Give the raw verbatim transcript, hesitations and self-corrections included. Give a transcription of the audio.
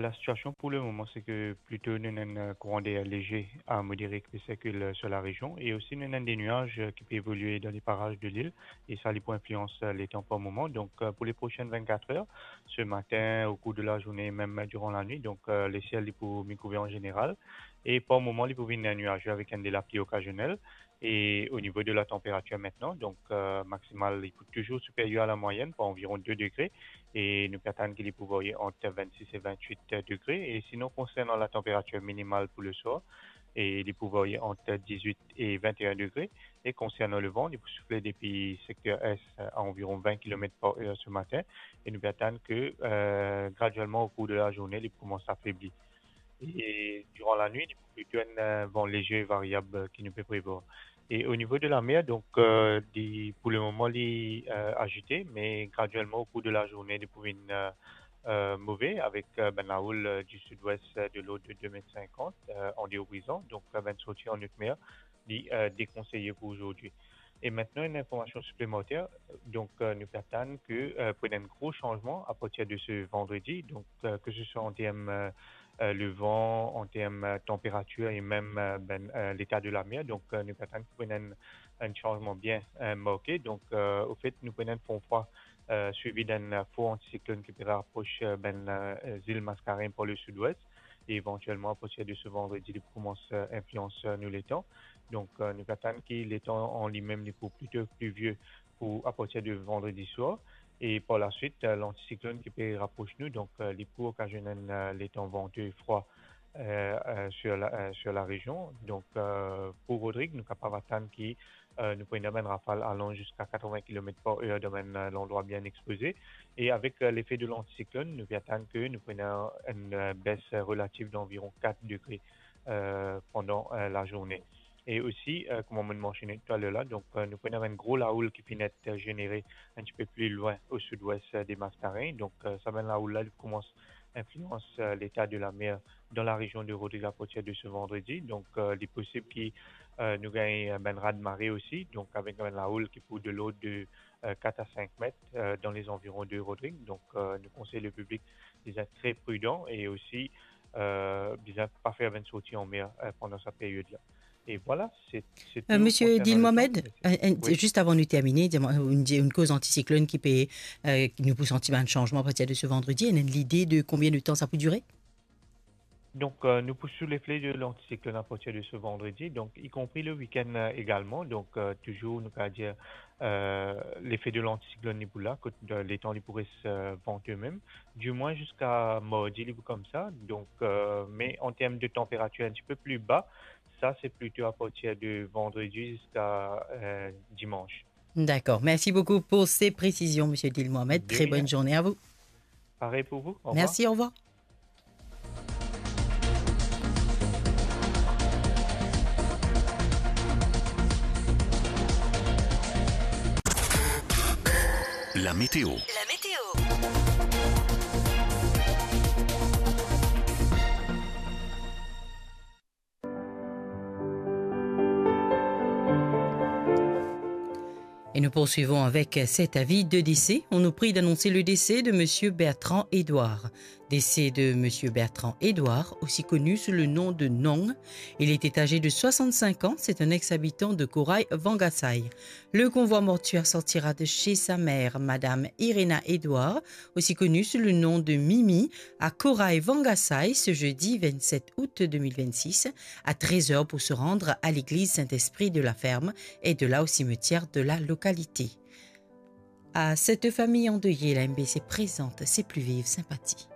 La sitiasion pou le moman, se ke plito nou ena enn, euh, kouran der leger a modere ki pe sirkil, euh, sur la rezion, e osi nou ena enn de nuaz, euh, ki pe evolie dan le paraz de lil, e sa li pou inflians, euh, letan par moman. Donk, euh, pou le prosin vennkat er, se matin, o kour de la zourne, mem diran lanwit, donk, euh, lesiel li pou mi kouver an zeneral, e par moman li pou vinn nuaze avek enn de lapli okazionel. E o nivo de la tanperatir aster, donk, euh, maksimal li pou touzour siperyer a la mwayenn par anviron de degre, e nou pe atann ki li pou varye ant vennsis e vennwit degre. E sinon, konsernan la tanperatir minimal pou le swar, e li pou varye ant dizwit e vennteen degre. E konsernan le van, li pou soufle depi sekter es a anviron vin kilomet par er se matin, e nou pe atann ke, euh, gradielman o kour de la zourne, li pou koumans afebli. E diran lanwit, li pou plito enn, euh, van leger variab, euh, ki nou pe prevwar. E o nivo de lamer, donk, euh, li, pou le moman, li, euh, azite, me gradielman, o kour de la zourne, li pou vinn, euh, euh, move, avek, euh, bann laoul, euh, di sidwes, euh, de lord de de met sinkant, euh, an deor brizan. Donk, euh, bann sorti an otmer, li, euh, dekonseye pou azordi. E aster, enn informasion siplemanter, donk, euh, nou pe atann ke, euh, pou ena enn gro sanzman apartir de se vandredi, donk, euh, ke se swa an term, euh, euh, le van, an term, euh, tanperatir e mem, euh, bann, euh, leta de lamer. Donk, euh, nou pe atann ki pou ena enn, enn sanzman bien, euh, marke. Donk, euh, anfet, nou pou ena enn fon frwa, euh, swivi d'enn, euh, for antisiklonn ki pe rapros, euh, bann, euh, zil Maskarenn par le sidwes. E evantielman, apartir de se vandredi, li pou koumans, euh, inflians, euh, nou letan. Donk, euh, nou pe atann ki letan an limem, li pou plito plivie pou apartir de vandredi swar. E par laswit, euh, lantisiklonn ki pe rapros nou, donk, euh, li pou okazionn enn, euh, letan vante e frwa, euh, euh, sur la, euh, sur la rezion. Donk, euh, pou Rodrig, nou kapav atann ki, euh, nou pou ena bann rafal alan ziska katreven kilomet par er dan bann, euh, landrwa bien expoze. E avek, euh, lefe de lantisiklonn, nou pe atann ke nou pou ena enn, euh, bes relativ d'anviron kat degre, euh, pandan, euh, lazourne. E osi, euh, kouma mo mansione taler la, donk, euh, nou pou ena enn gro laoul ki finn et, euh, zenere enn tipe pli lwin o sidwes, euh, de Maskarenn. Donk, euh, sa bann laoul la, li koumans inflians, euh, leta de lamer dan la rezion de Rodrig apartir de se vandredi. Donk, euh, li posib ki, euh, nou gagn, euh, bann raz-de-mare osi. Donk, avek bann laoul ki pou de lord de, euh, kat a sink met, euh, dan lezanviron de Rodrig. Donk, euh, nou konsey le piblik d'et tre pridan e osi, euh, bizin pa fer bann sorti anmer, euh, pandan sa period la. E vwala, se, se tou. Euh, Monsieur Dil Mohamed, euh, euh, oui, zis avan nou termine, dir mwa, ou, ou koz antisiklonn ki pe, euh, ki nou pou santi bann sanzman apartir de se vandredi, ena enn lide de konbien de tan sa pou dire? Donk, euh, nou pou sou lefe de lantisiklonn apartir de se vandredi, donk, ikonpri le wikenn, euh, egalman. Donk, euh, touzour, nou kapav dir, euh, lefe de lantisiklonn li pou la, kot, euh, letan li pou res, euh, vante mem. Dimwin ziska mardi, li pou koumsa. Donk, euh, me an term de tanperatir enn tipe pli ba, sa se plito apartir de vandredi ziska, euh, dimans. D'accord. Merci beaucoup pour ces précisions, Monsieur Dil Mohamed. De rien. Très bonne journée à vous. Pareil pour vous. Au revoir. Merci, au revoir. La météo. La météo. Et nous poursuivons avec cet avis de décès. On nous prie d'annoncer le décès de Monsieur Bertrand Edouard. Décès de Monsieur Bertrand Edouard, aussi connu sous le nom de Nong. Il était âgé de soixante-cinq ans. C'est un ex-habitant de Koray Vangasai. Le convoi mortuaire sortira de chez sa mère, Madame Irena Edouard, aussi connue sous le nom de Mimi, à Koray Vangasai, ce jeudi vingt-sept août deux mille vingt-six, à treize heures, pour se rendre à l'église Saint-Esprit de la Ferme et de là au cimetière de la localité. À cette famille endeuillée, la M B C présente ses plus vives sympathies.